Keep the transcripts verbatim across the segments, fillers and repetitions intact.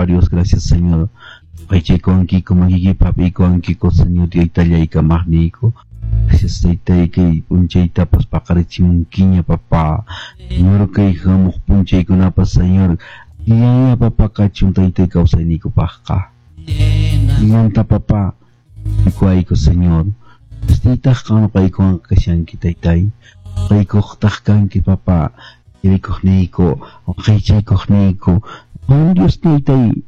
Papá Dios, gracias, Señor. Paychaykuwankiku, makiykipi hap'iykuwankiku, Señor, Taytallay kamaqniyku. Gracias, Taytay, kay p'unchaytapas paqarichimunkiña, papá. Señor, kay hamuq p'unchaykunapas, Señor, allilla, papá, kachun, Taytay, kawsayniykupaqqa. Allillanta, papá, rikuwayku, Señor. Taytaq qan noqaykuwan kashanki, Taytay. Noqaykuqtaq kanki, papá. Rikuqniyku, waqaychaykuqniyku. Juan Dios, Taytay,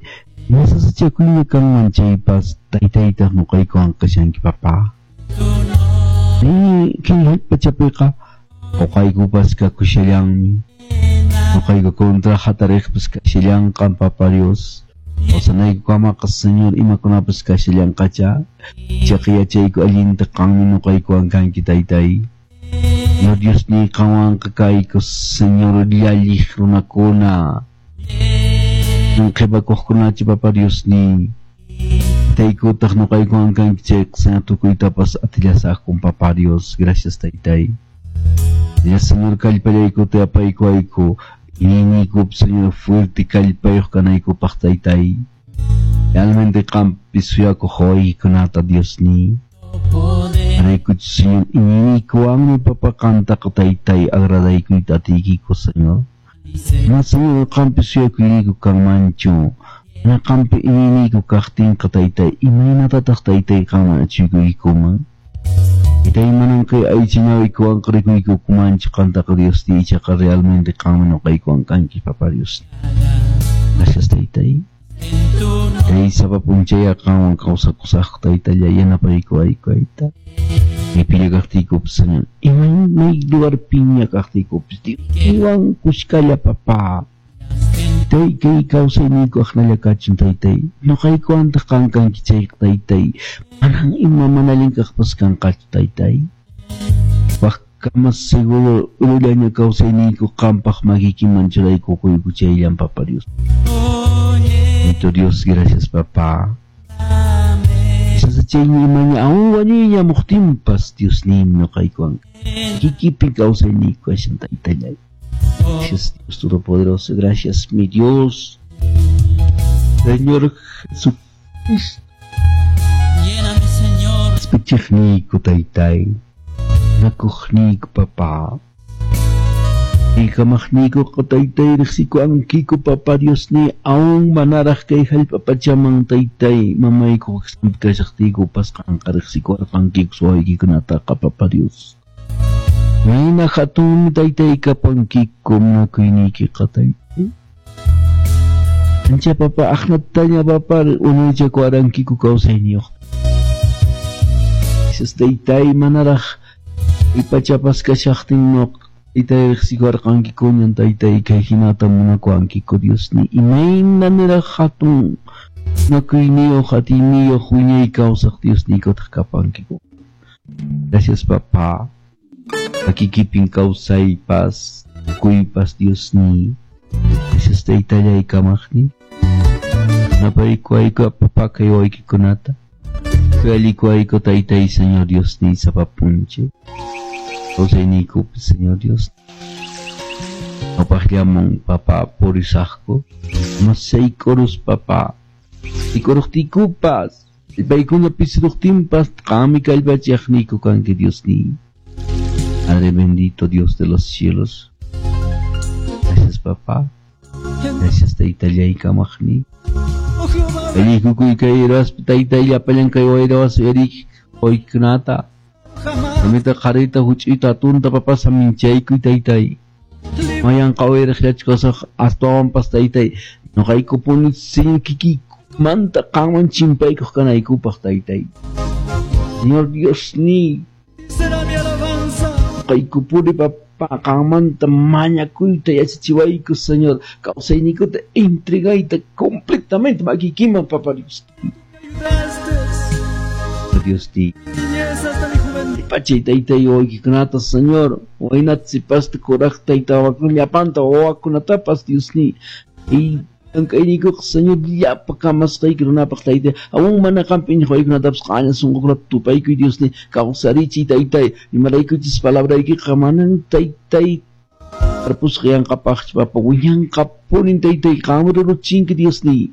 masasachakuyña kanman chaypas, Taytaytaq noqaykuwan kashanki, papá. Kay hallp'achapiqa uqaykupas kakushallanmi. Uqayku contra hatariqpas kashallanqan, papá Dios. Kawsanaykukamaqa, Señor, imakunapas kashallanqacha. Ichaqa yachayku allinta qanmi noqaykuwan kanki, Taytay. Señor Dios ni qanwanqa kayku, Señor, llalliq runakuna. Qhipakuqkunachu, papá Dios ni. Taykutaq noqaykuwan kanki chayqa, Señor, tukuytapas atillasaqkun, papá Dios. Gracias, Taytay. Ya, Señor, kallpallaykuta apaykuwayku. Iñiyniykupi, Señor, fuerte kallpayuq kanaykupaq, Taytay. Realmente qampi suyakuq wawaykikunata, Dios ni. Araykuchu, Señor, iñiyniykuwanmi, papá, qantaqa, Taytay, agradaykuyta atiykiku, Señor. Ma, Señor, qampi suyakuyniyku kanmanchu. Mana qampi iñiyniyku kaqtinqa, Taytay, imaynatataq, Taytay, qanman achuykuykuman? Taytay, manan kay aycha ñawiykuwanqa rikuykumanchu qantaqa, Dios ni, ichaqa realmente qanmi noqaykuwan kanki, papá Dios. Gracias, Taytay. Kay sapa p'unchaya qanwan kawsakusaqku, Taytallay, yanapaykuwayku, Tayta. Maypiña kaqtiykupis, Señor, imay may lugarpiña kaqtiykupis, Dioswan kushkalla, papá. Taytay, kay kawsayniyku aqnalla kachun, Taytay. Noqaykuwantaq qan kanki chayqa, Taytay. Manan ima mana allin kaqpas kanqachu, Taytay. Waqkama seguro urullaña kawsayniyku qampaq makiykiman churaykukuyku chayllan, papá Dios. Bendito Dios, gracias, papá. Sasachayña imaña aún wañuyña muqtinpas, Dios nim noqaykuwan. Kikipi kawsayniyku kashan, Taytallay. Gracias, Dios Todopoderoso. Gracias, mi Dios. Señor Jesucristo. Lléname, Señor. Qhispichiqniyku, Taytay. Nakuqniyku, papá. Kamaqniykuqa, Taytay, riqsikuwankiku, papá Dios ni, aún manaraq kay hallp'a pachaman, Taytay, mamayku kashaqtiykupas qanqa riqsikuwarqankiku wawaykikunataqa, papá Dios. Mayna hatunmi, Taytay, kapankiku munakuyniykiqa, Taytay. Ancha, papá, aqnataña, papá, unaychakuwarankiku kawsayniyuq. Gracias, Taytay, manaraq kay pachapas kashaqtin noqa Taytay riqsikuwarqankikuñan, Taytay, kay hinata munakuwankiku, Dios ni. Imayna niraq hatun munakuyniyuq, atiyniyuq, wiñay kawsaq Dios niykutaq kapankiku. Gracias, papá. Makikipin kawsaypas, tukuypas, Dios ni. Gracias, Taytallay kamaqni. Napaykuwayku, papá, kay wawaykikunata. Kallikuwayku, Taytay, Señor Dios ni, sapa p'unchay. Kawsayniykupi, Señor Dios. Ñawpaqllaman, papá, purisaqku. Masaykurus, papá. Ikuruqtiykupas, paykuna pisiruqtinpas, qanmi kallpachiqniyku kanki, Dios ni. Padre bendito, Dios de los cielos. Gracias, papá. Gracias, Taytallay kamaqni. Oh Jehová, Allikukuy kay raspi, Taytay, llapallan kay wayrawas uyarik wawaykikunata. Jamás Mamita qharita huch'uyta atunta, papá, saminchaykuy, Taytay. Mayanqa uyariqllachkasaq astawanpas, Taytay. Noqaykupuni, Señor, kikiykumanta qanman chimpaykuq kanaykupaq, Taytay. Señor Dios ni. Será mi alabanza. Noqaykupuni, papá, qanmanta mañakuyta yachachiwayku, Señor. Kawsayniykuta entregayta completamente makiykiman, papá Dios. Ayudaste. Dios ti. Niñez hasta mi juventud. Pachay, Taytay, wawaykikunata, Señor. Waynata, sipasta, kuraqta, tayta, wawakuna, llapanta wawakunatapas, Dios ni. Y llank'ayniykuqa, Señor, llapa kamasqayki runapaq, Taytay. Aún mana qampi iñiq wawaykikunatapas q'aña sunqukunata tupaykuy, Dios ni. Kawsarichiy, Taytay. Imaraykuchis palabraykiqa manan, Taytay, tarpusqa yanqapaqchu, papá. Wiñanqapunin, Taytay. Qanmi ruruchinki, Dios ni.